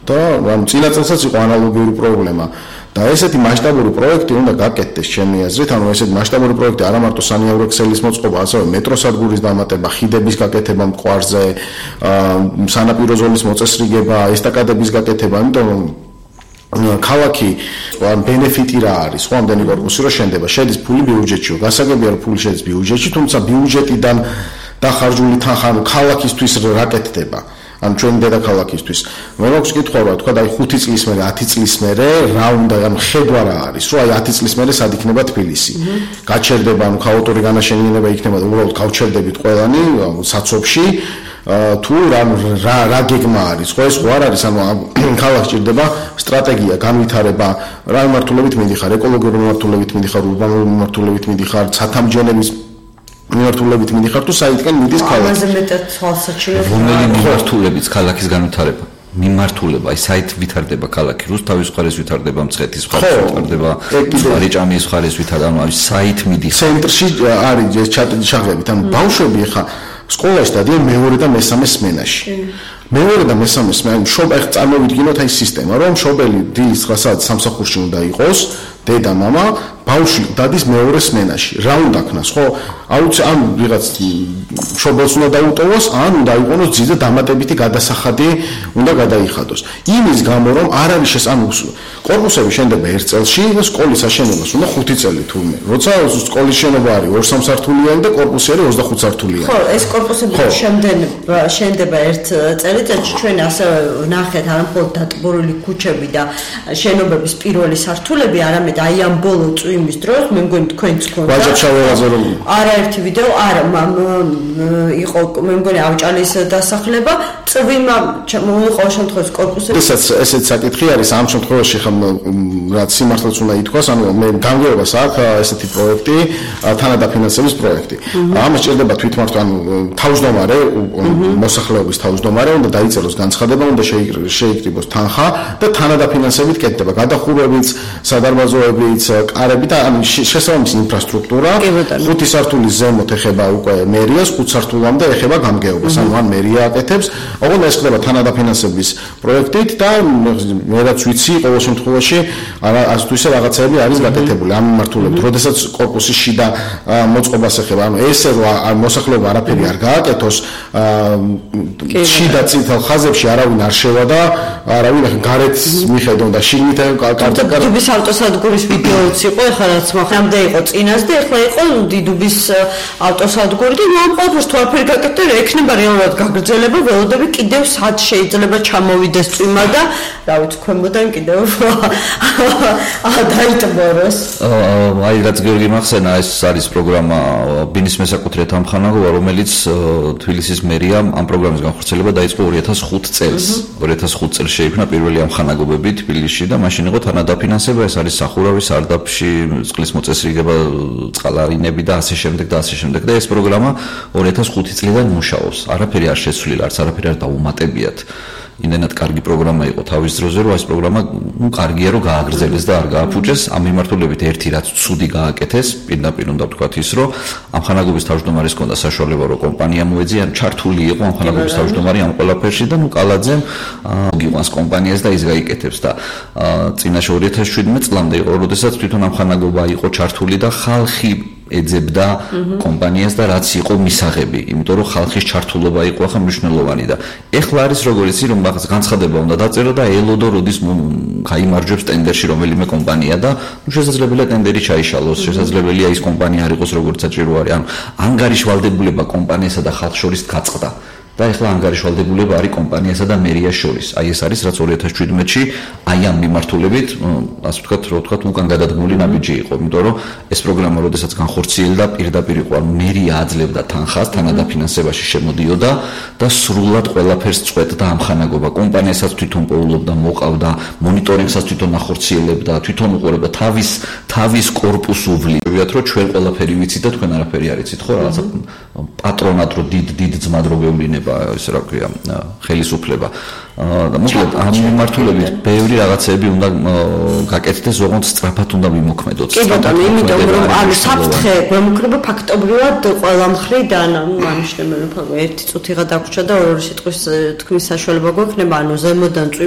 და ამ წინა წელსაც იყო ანალოგიური პრობლემა. და ესეთი მასშტაბური პროექტი უნდა გაკეთდეს ჩემი აზრით, ანუ ესეთი მასშტაბური პროექტი არა მარტო სანიავრო ქსელის მოწყობა, ასევე მეტროსადგურის დამატება, ხიდების გაკეთება მტკვარზე, სანაპირო ზოლის მოწესრიგება, ესტაკადების გაკეთება, იმიტომ რომ ქალაქი ბენეფიტი რა არის, ხო, ამდენი კორპუსი რო შენდება, შედის ფული ბიუჯეტში, გასაგებია რომ ფული შედის ბიუჯეტში, თუმცა ბიუჯეტიდან დახარჯული თანხა ქალაქისთვის რა კეთდება? ან ჩვენ დედაქალაქისთვის. მე მაქვს კითხვა რა თქვა, აი 5 წლის მერე, 10 წლის მერე რა უნდა, ან ხედვა რა არის, რომ აი 10 წლის მერე სად იქნება თბილისი. გაჩერდება, ანუ ქაოტური განაშენიანება იქნება და უბრალოდ გავჩერდებით ყველანი საცობში, თუ რა გეგმა არის, ხო ეს ხო არ არის, ანუ ქალაქს ჭირდება სტრატეგია, განვითარება, რა მიმართულებით მიდიხარ, ეკოლოგიური მიმართულებით მიდიხარ, ურბანული მიმართულებით მიდიხარ, ცათამბჯენების მიმართულებით მიდიხარ თუ საითკენ მიდის ქალაქი. ამაზე მეტად თვალსაჩინო. რომელი მიმართულებიც ქალაქის განვითარება? მიმართულება, აი საით ვითარდება ქალაქი, რუსთავის მხარეს ვითარდება, მცხეთის მხარეს ვითარდება, რიჭამის მხარეს ვითარდება, ანუ საით მიდიხარ. ცენტრში არის ეს ჩაღლებით, ანუ ბავშვები ხა სკოლაში დადიან მეორე და მესამე სმენაში. მეორე და მესამე სმენაში ახლა წარმოვიდგინოთ აი სისტემა, რომ მშობელი დილის 9 საათს სამსახურში უნდა იყოს, დედა, მამა, ბავშვი დადის მეორე სმენაში. რა უნდა ქნას, ხო? ან ვიღაც მშობელს უნდა დაუტოვოს, ან უნდა იყონოს ძიძა დამატებითი გადასახადი უნდა გადაიხადოს. იმის გამო, რომ არ არის ანუ კორპუსები შენდება 1 წელში და სკოლის აშენებას უნდა 5 წელი თურმე. როცა სკოლის შენობა არის 2-3 სართულიანი და კორპუსი არის 25 სართულიანი. ხო, ეს კორპუსები შენდება 1 წელიწადში, ჩვენ ასე ვნახეთ არამხოლოდ დატბორილი ქუჩები და შენობების პირველი სართულები, არამედ აი ამ ბოლო წვიმის დროს მე მგონი თქვენც გქონდა. ვაჭარ-ჩავეღაზე რომ არაერთი ვიდეო არა იყო მე მგონი ავჭალის დასახლება, წვიმა ყოველ შემთხვევაში კორპუსები. ესეც საკითხი არის ამ შემთხვევაში ხომ რაც სიმართლეც უნდა ითქვას, ანუ მე გამგეობას აქვს ესეთი პროექტი, თანადაფინანსების პროექტი. ამას ჭირდება თვითმმართველ ანუ თავმჯდომარე, მოსახლეობის თავმჯდომარე უნდა დაიწეროს განცხადება, უნდა შეიკრიბოს თანხა და თანადაფინანსებით კეთდება. გადახურვებიც, სადარბაზოებიც, კარები და ანუ შესაბამისი ინფრასტრუქტურა. 5 სართულის ზემოთ ეხება უკვე მერიას, 5 სართულამდე ეხება გამგეობას. ანუ ან მერია აკეთებს, ოღონდ ეს ხდება თანადაფინანსების პროექტით და მე რაც ვიცი, ყოველ შემთხვევაში ასე თუ ისე რაღაცები არის გაკეთებული ამ მიმართულებით. როდესაც კორპუსის შიდა მოწყობას ეხება, ანუ ესე რომ მოსახლეობა არაფერი არ გააკეთოს, შიდა წითელ ხაზებში არავინ არ შევა და არავინ გარეთ მიხედონ და შიგნით დიდუბის ავტოსადგურის ვიდეოც იყო, ეხლა რაც მახამდე იყო წინას და ეხლა იყო დიდუბის ავტოსადგური და ამ ყველაფერს თუ არაფერი გაკეთდა, ექნება რეალურად გაგრძელება, ველოდები კიდევ სად შეიძლება ჩამოვიდეს წვიმა და რა ვიცი, ქვემოდან კიდევ დაიტბოროს. აი რაც გიორგი მახსენა, ეს არის პროგრამა ბინის მესაკუთრეთა ამხანაგობა, რომელიც თბილისის მერიამ ამ პროგრამის განხორციელება დაიწყო 2005 წელს. 2005 წელს შეიქმნა პირველი ამხანაგობები თბილისში და მაშინ იყო თანადაფინანსება, ეს არის სახურავი, სარდაფში, წყლის მოწესრიგება, წყალარინები და ასე შემდეგ და ასე შემდეგ და ეს პროგრამა 2005 წლიდან მუშაობს. არაფერი არ შეცვლილა, არც არაფერი არ დაუმატებიათ. იმდენად კარგი პროგრამა იყო თავის დროზე, რომ ეს პროგრამა კარგია რომ გააგრძელეს და არ გააფუჭეს. ამ მიმართულებით ერთი რაც ცუდი გააკეთეს, პირდაპირ უნდა ვთქვათ ის, რომ ამხანაგობის თავმჯდომარის ჰქონდა საშუალება, რომ კომპანია მოეძია, ჩართული იყო ამხანაგობის თავმჯდომარე ამ ყველაფერში და კალაძემ გიყვანს კომპანიას და ის გაიკეთებს და წინაშე 2017 წლამდე იყო, როდესაც თვითონ ამხანაგობა იყო ჩართული და ხალხი ეძებდა კომპანიას და რაც იყო მისაღები, იმიტომ რომ ხალხის ჩართულობა იყო ახლა მნიშვნელოვანი და ეხლა არის როგორც იცი რომ განცხადება უნდა დაწერო და ელოდო როდის გაიმარჯვებს ტენდერში რომელიმე კომპანია და შესაძლებელია ტენდერი ჩაიშალოს, შესაძლებელია ის კომპანია არ იყოს როგორც საჭირო არის, ანუ ანგარიშვალდებულება კომპანიასა და ხალხს შორის გაწყდა. და ეხლა ანგარიშვალდებულება არის კომპანიასა და მერიას შორის. აი ეს არის რაც 2017-ში აი ამ მიმართულებით, ასე ვთქვათ, რო ვთქვათ, უკან გადადგმული ნაბიჯი იყო, იმიტომ რომ ეს პროგრამა როდესაც განხორციელდა, პირდაპირ იყო, ანუ მერია აძლევდა თანხას, თანადაფინანსებაში შემოდიოდა და სრულად ყველაფერს წვეთდა ამხანაგობა. კომპანიასაც თვითონ პოულობდა, მოყავდა, მონიტორინგსაც თვითონ ახორციელებდა, თვითონ უყურებდა თავის კორპუსს უვლიათ, რომ ჩვენ ყველაფერი ვიცით და თქვენ არაფერი არ იცით, ხო, რაღაცა პატრონად რო დიდ ძმად რო გევლინება ეს რა ქვია ხელისუფლება და მოკლედ ამ მიმართულებით ბევრი რაღაცები უნდა გაკეთდეს, ოღონდ სწრაფად უნდა მიმოქმედოთ. კი ბატონო, იმიტომ რომ ანუ საფრთხე გვემუქრება ფაქტობრივად ყველა მხრიდან, ამის შემოქმედება ერთი წუთიღა დაგვრჩა და ორი სიტყვის თქმის საშუალება გვექნება, ანუ ზემოდან